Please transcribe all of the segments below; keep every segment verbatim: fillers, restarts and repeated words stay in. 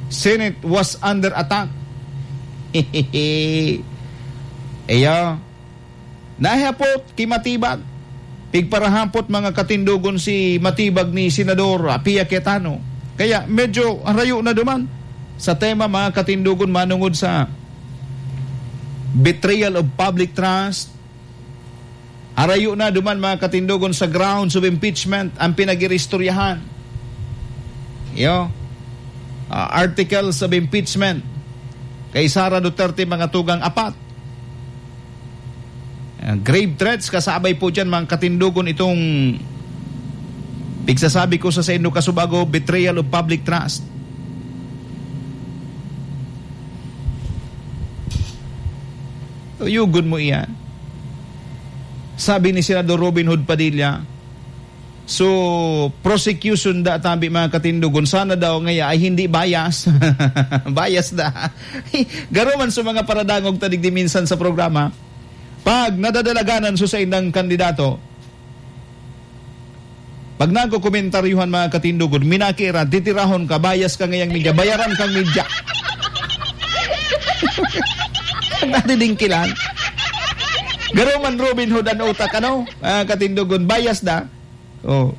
Senate was under attack. Iyo. Nahapot ki Matibag. Pigparahapot, mga katindogon, si Matibag ni Senador, ah, Pia Cayetano. Kaya medyo harayo na duman sa tema, mga katindogon, manungod sa betrayal of public trust. Harayo na duman, mga katindogon, sa grounds of impeachment ang pinag-iristoryahan. Iyo, ah, articles of impeachment kay Sara Duterte, mga tugang, apat. Ah, grave threats, kasabay po dyan, mga katindogon, itong pigsasabi ko sa saindo kasubago, betrayal of public trust. Tuyugon mo iyan. Sabi ni Senador Robin Hood Padilla, so, prosecution da tabi, mga katindogon, sana daw ngaya ay hindi bias. Bias da. Garo man sa mga paradangog ta digdi minsan sa programa, pag nadadalaganan so saindang kandidato, pag nagkokomentaryuhan, mga katindogon, minaki ra, titirahon ka, bias ka ngayang media, bayaran kang media. Nadidingkilan. Garo man Robin Hood an utak, ano? Mga katindogon, bias da. Oh.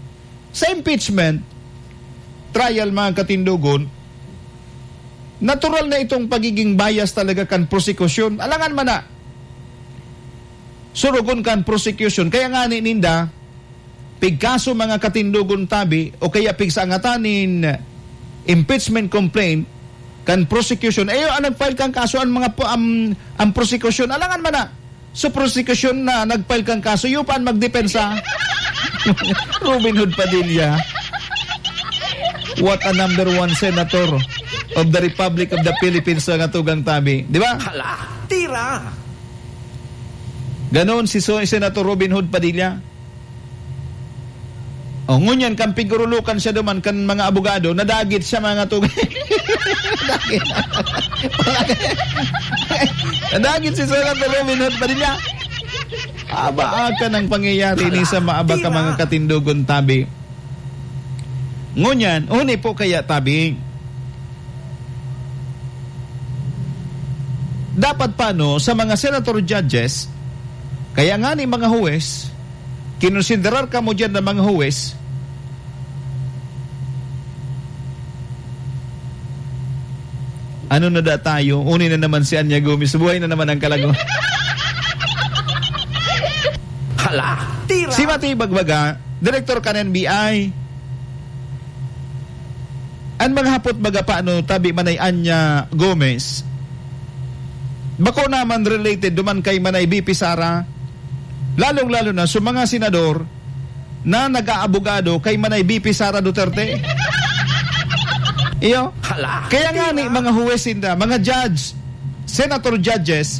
Sa impeachment trial, mga katindogon, natural na itong pagiging bias talaga kan prosekusyon. Alangan man na, surugon kan prosekusyon. Kaya ngani ninda, pigkaso, mga katindogon, tabi, o kaya pigsangatan nin impeachment complaint kan prosecution. Iyo an nag-file kan kaso, ang mga po, ang, ang prosecution. Alangan man na, so prosecution na nag-file kan kaso, iyo pa an magdepensa. Robin Hood Padilla. What a number one senator of the Republic of the Philippines, mga tugang, tabi. Di ba? Hala, tira! Ganon si so-, Senator Robin Hood Padilla. O, ngunyan, kan pigurulukan siya duman kan mga abogado, nadagit siya, mga tugang. Nadagit. Nadagit si Senator Robin Hood Padilla. Aba, aka ng pangyayari ni sa maaba ka, mga katindogon, tabi. Ngunyan, huni po kaya, tabi, dapat pa, no, sa mga senator judges, kaya nga ni mga huwes, kinonsiderar kamo diyan na mga huwes, ano na da tayo? Uni na naman si Anya Gomez. Buhay na naman ang kalago. Hala, tira! Si Matibag baga, direktor kan N B I. An mga hapot baga pa, ano, tabi Manay Anya Gomez, bako naman related duman kay Manay V P Sara, lalong-lalo na sa mga senador na nag-aabogado kay Manay V P Sara Duterte. Iyo? Hala. Kaya nga ni mga huwes sinda, mga judge, senator judges,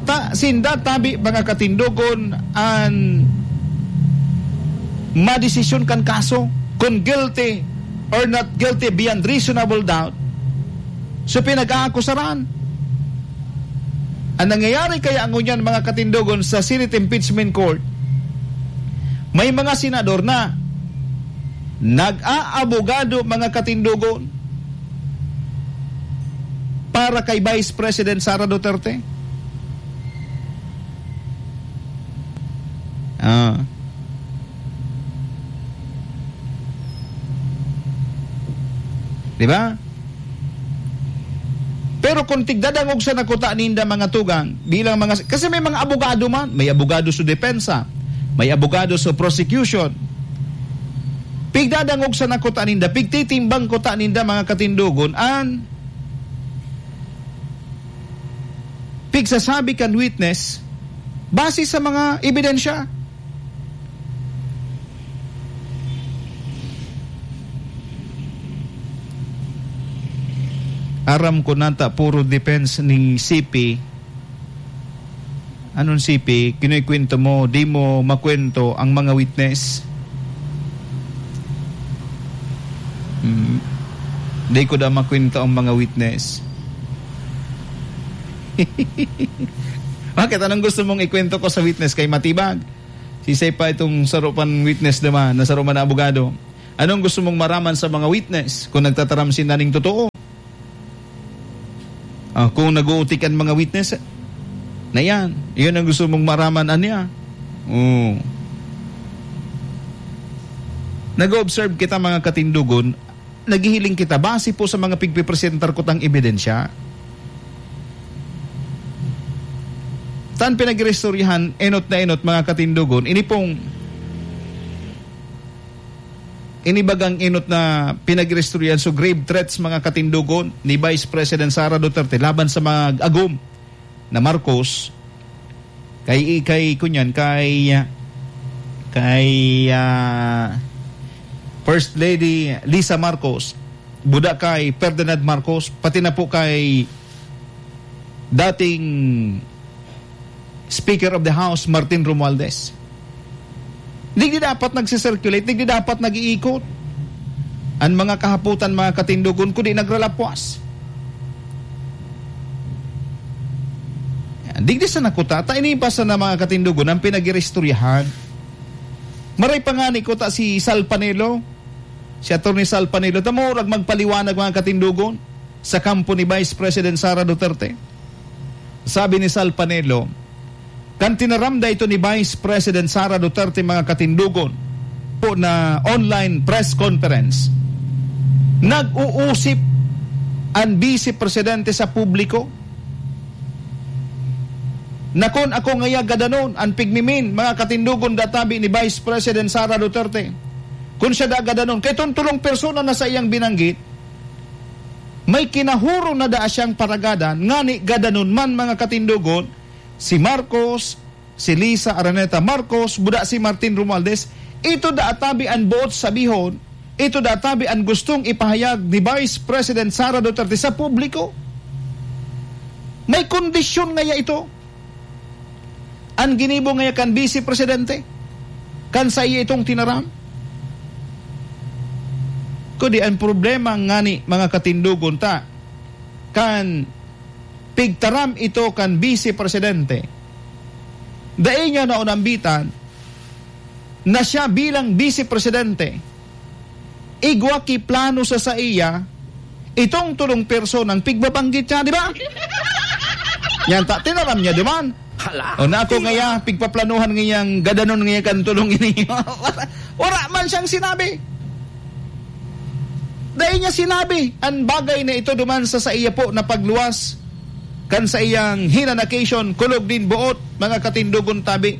ta, sinda tabi, mga katindogon, an madesisyon kan kaso, kung guilty or not guilty beyond reasonable doubt, so pinag-aakusaran. Ang nangyayari kaya ngunyan, mga katindogon, sa Senate Impeachment Court, may mga senador na nag-aabogado, mga katindogon, para kay Vice President Sara Duterte. Ah. Di ba? Pero kung tigdadangog sa nakuta ninda, mga tugang, bilang mga, kasi may mga abogado man, may abogado sa depensa, may abogado sa prosecution. Pigdadangog sa nakuta ninda, pigtitimbang kuta ninda, mga katindogon, an pigsasabi kan witness base sa mga ebidensya. Aram ko nata puro defense ni C P. Anong C P? Kinukwento mo, di mo makwento ang mga witness? Hmm. Di ko da makwento ang mga witness. Bakit? Anong gusto mong ikwento ko sa witness kay Matibag? Sisay pa itong saro pang witness naman, na saro man na abogado. Anong gusto mong maraman sa mga witness kung nagtataram sinda ning totoo? Ah, kung nag-uutik an mga witness, na yan. Yun ang gusto mong maraman, anya. Oh. Nag-observe kita, mga katindogon, naghihiling kita base po sa mga pigpipresentar ko tang ebidensya. Tan pinag-iristoryahan, enot na enot, mga katindogon, ini pong inibagang enot na pinag-iristoryahan, so grave threats, mga katindogon, ni Vice President Sara Duterte laban sa mga agom na Marcos, kay, kay, kunyan, kay, kay, ah, First Lady Lisa Marcos, buda kay Ferdinand Marcos, pati na po kay dating Speaker of the House Martin Romualdez. Digdi dapat nagsisirculate, digdi dapat nag-iikot an mga kahapotan, mga katindogon, kundi nagralapwas. Yan. Digdi sa nakuta, ta ini pa sana, mga katindogon, ang pinag-iristoryahan. Maray pa ngani kuta si Sal Panelo, si Attorney Sal Panelo, ta murag magpaliwanag, mga katindogon, sa kampo ni Vice President Sara Duterte. Sabi ni Sal Panelo, kan tinaram da ito ni Vice President Sara Duterte, mga katindogon, po na online press conference, nag-uusip an Vice Presidente sa publiko. Nakon ako ngaya gadanon an pigmimin, mga katindogon, databi ni Vice President Sara Duterte. Kun siya da gadanon, kay tong tolong persona na sa iyang binanggit, may kinahuro na daa siyang paragadan, ngani gadanon man, mga katindogon, si Marcos, si Lisa Araneta Marcos, buda si Martin Romualdez, ito da atabi an boot sabihon, ito da atabi an gustong ipahayag ni Vice President Sara Duterte sa publiko. May kondisyon ngaya ito. An ginibo ngaya kan Vice Presidente, kan saiya itong tinaram. Kundi ang problema ngani, mga katindogon, ta, kan pigtaram ito kan Vice Presidente, dai niya naunambitan na siya bilang Vice Presidente, igwa ki plano sa saiya itong tolong personang pigbabanggit niya, di ba? Yan ta, tinaram niya duman. Hala, O na ako tina- ngaya, pigpaplanuhan ngayang gadanon ngaya kan tolong ini. Wala, wala man siyang sinabi. Dai niya sinabi an bagay na ito duman sa saiya po na pagluwas kan saiyang hinanakisyon, kulog nin boot, mga katindogon tabi.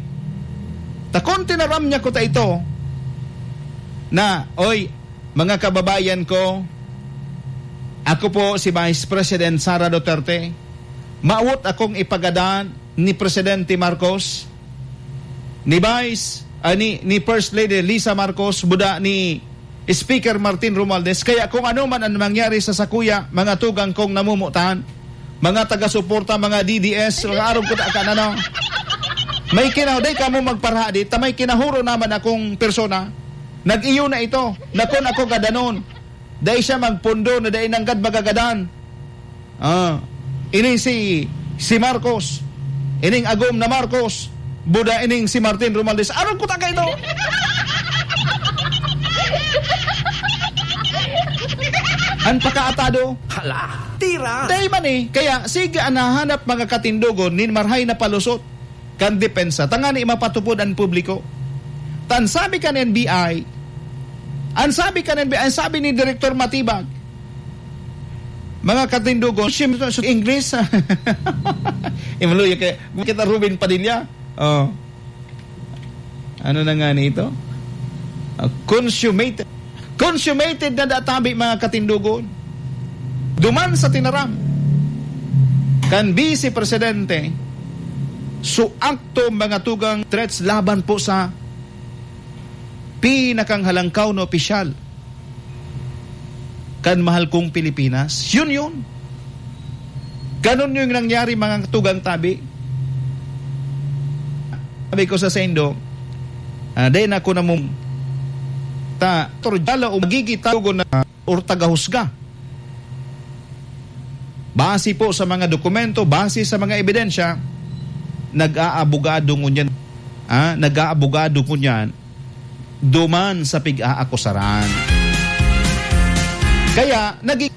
Ta kun tinaram niya kuta ito, na, "Oy, mga kababayan ko, ako po si Vice President Sara Duterte. Mawot akong ipagadan ni Presidente Marcos, ni Vice, ah, ni, ni First Lady Lisa Marcos, buda ni Speaker Martin Romualdez. Kaya kung ano man ang mangyari sa sakuya, mga tugang kong namumutan, mga taga-suporta, mga D D S, mga arog ko ta-, kan ano, may kinaw-, dai kamo magparahadi, ta may kinahuro naman akong persona. Nag-iyo na ito. Nakon ako gadanon. Dai siya magpundo na dai nanggad magagadan." Ah, ini si, si Marcos. Ining agom na Marcos. Buda ining si Martin Romualdez. Arog ko ta kayo! An pakaatado. Hala, tira! Dai man eh. Kaya, sige, an nahanap mga katindogon, nin marhay na palusot kan depensa, tangani mapatupod an publiko. Tan sabi kan N B I, an sabi kan N B I, an sabi ni Direktor Matibag, mga katindogon, siyempre, sa English, imaluya kay, kita Ruben Padilla. Oh. Ano na nga nito? Ah, consummated. Consummated na databi, mga katindogon. Duman sa tinaram kan Vice Presidente, su akto mga tugang threats laban po sa pinakang halangkaw na opisyal kan mahal kong Pilipinas. Yun yun. Ganun yung nangyari, mga tugang tabi. Sabi ko sa saindo, ah, dai na ako namum-, ta, turjala o magigitago na or tagahusga. Base po sa mga dokumento, base sa mga ebidensya, nag-aabogado ngunyan, ah, nag-aabogado ngunyan duman sa pig-aakusaran. Kaya, naging